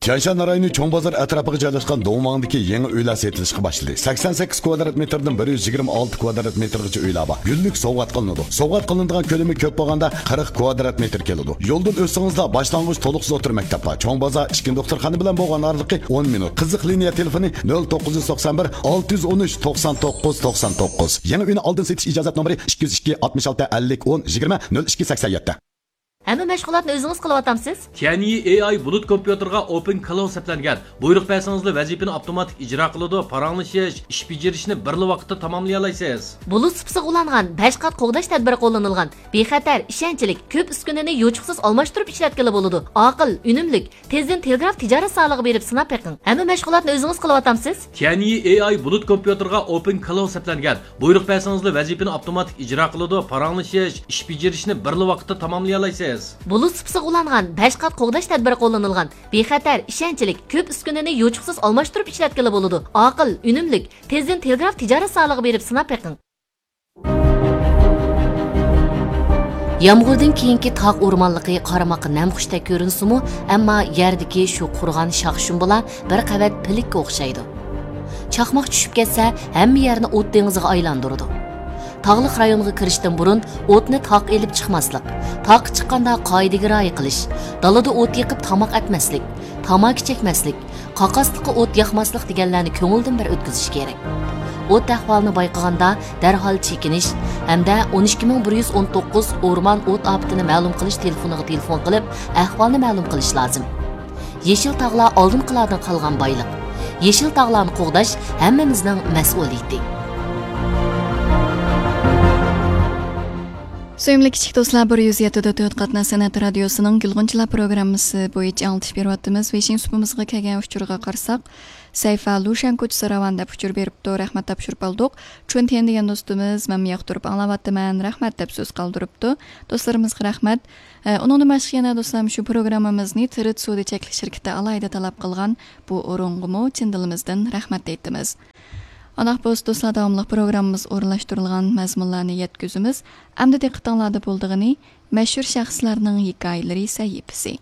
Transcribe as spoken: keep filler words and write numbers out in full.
تيەنشان رايونى چوڭ بازار ئەتراپىغا جايلاشقان دۇڭۋاڭدىكى يېڭى ئۆيلەر سېتىلىشقا باشلىدى. سەكسەن سەككىز كۋادرات مېتىردىن بىر يۈز يىگىرمە ئالتە كۋادرات مېتىرغىچە ئۆيلەر بار. گۈللۈك سوۋغات قىلىنىدۇ. سوۋغات قىلىنىدىغان كۆلىمى كۆپ بولغاندا قىرىق كۋادرات مېتىر كېلىدۇ. يولدىن ئۆتسىڭىزلا باشلانغۇچ تولۇقسىز ئوتتۇرا مەكتەپ بار. چوڭ بازار ئىچكى دوختۇرخانا بىلەن بولغان ئارىلىقى ئون مىنۇت. قىزىق لىنىيە تېلېفونى نۆل توققۇز يۈز توقسان بىر، ئالتە يۈز ئون ئۈچ، توقسان توققۇز، توقسان توققۇز. يېڭى ئۆينى ئالدىن سېتىش ئىجازەت نومۇرى ئىككى يۈز ئىككى، ئاتمىش ئالتە، ئەللىك، ئون، يىگىرمە، نۆل ئىككى، سەكسەن يەتتە. ھەممە مەشغۇلاتنى ئۆزىڭىز قىلىۋاتامسىز؟ تيەنيى ئېي ئاي بۇلۇت كومپيۇتېرغا ئوپېن كلاۋ سەپلەنگەن. بۇيرۇق بەرسىڭىزلا ۋەزىپىنى ئاپتوماتىك ئىجرا قىلىدۇ، پاراڭلىشىش، ئىش بېجىرىشنى بىرلا ۋاقىتتا تاماملىيالايسىز. بۇلۇت سۇپىسىغا ئۇلانغان بەش قات قوغداش تەدبىرى قوللىنىلغان. بىخەتەر، ئىشەنچلىك، كۆپ ئۈسكۈنىنى يوچۇقسىز ئالماشتۇرۇپ ئىشلەتكىلى بولىدۇ. ئاقىل، ئۈنۈملۈك، تېزدىن تېلېگراف تىجارەت زالىغا بېرىپ سىناپ بېقىڭ. ھەممە مەشغۇلاتنى ئۆزىڭىز قىلىۋاتامسىز؟ تيەنيى ئېي ئاي بۇلۇت كومپيۇتېرغا ئوپېن كلاۋ سەپلەنگەن. بۇيرۇق بەرسىڭىزلا ۋەزىپىنى ئاپتوماتىك ئىجرا قىلىدۇ، پاراڭلىشىش، ئىش بېجىرىشنى بىرلا ۋاقىتتا تاماملىيالايسىز. بۇلۇت سۇپىسىغا ئۇلانغان بەش قات قوغداش تەدبىرى قوللىنىلغان. بىخەتەر، ئىشەنچلىك، كۆپ ئۈسكۈنىنى يوچۇقسىز ئالماشتۇرۇپ ئىشلەتكىلى بولىدۇ. ئاقىل، ئۈنۈملۈك، تېزدىن تېلېگراف تىجارەت زالىغا بېرىپ سىناپ بېقىڭ. يامغۇردىن كېيىنكى تاغ ئورمانلىقى قارىماققا نەمخۇشتەك كۆرۈنسىمۇ، ئەمما يەردىكى شۇ قۇرۇغان شاخ-شۇمبىلار بىر قەۋەت پىلىككە ئوخشايدۇ. چاقماق چۈشۈپ كەتسە، ھەممە يەرنى ئوت دېڭىزىغا ئايلاندۇرىدۇ. تاغلىق رايونغا كىرىشتىن بۇرۇن ئوتنى تاغقا ئېلىپ چىقماسلىق، تاغقا چىققاندا قائىدىگە رىئايە قىلىش، دالىدا ئوت يېقىپ تاماق ئەتمەسلىك، تاماكا چەكمەسلىك، قاقاسلىققا ئوت ياقماسلىق دېگەنلەرنى كۆڭۈلدىن بىر ئۆتكۈزۈش كېرەك. ئوت ئەھۋالىنى بايقىغاندا دەرھال چېكىنىش ھەمدە ئون ئىككى مىڭ بىر يۈز ئون توققۇز ئورمان ئوت ئاپىتىنى مەلۇم قىلىش تېلېفونىغا تېلېفون قىلىپ، ئەھۋالنى مەلۇم قىلىش لازىم. يېشىل تاغلار ئالدىنقىلاردىن قالغان بايلىق. يېشىل تاغلارنى قوغداش ھەممىمىزنىڭ مەسئۇلىيىتى. سۆيۈملۈك كىچىك دوستلار، بىر يۈز يەتتە دۆت تۆت قاتناش سەنئەت رادىيوسىنىڭ گۈلغۇنچىلار پروگراممىسى بويىچە ئاڭلىتىش بېرىۋاتىمىز. ۋېشىڭ سۇپىمىزغا كەلگەن ئۇچۇرغا قارىساق، سەيفا لۇشەن كوچىسى راۋان دەپ ئۇچۇر بېرىپتۇ. رەھمەت تاپشۇرۇپ ئالدۇق. چۈن تيەن دېگەن دوستىمىز، مەنمۇ ياقتۇرۇپ ئاڭلاۋاتىمەن، رەھمەت دەپ سۆز قالدۇرۇپتۇ. دوستلىرىمىزغا رەھمەت. ئە، ئۇنىڭدىن باشقا يەنە دوستلار، شۇ پروگراممىمىزنى تىرىت سودا چەكلىك شىركىتى ئالاھىدە تەلەپ قىلغان. بۇ ئورۇنغىمۇ چىن دىلىمىزدىن رەھمەت ئېيتىمىز. ئانداق بولسا دوستلار، داۋاملىق پروگراممىمىز ئورۇنلاشتۇرۇلغان مەزمۇنلارنى يەتكۈزىمىز. ئەمدى دىققىتىڭلاردا بولىدىغىنى مەشھۇر شەخسلەرنىڭ ھېكايىلىرى سەھىپىسى.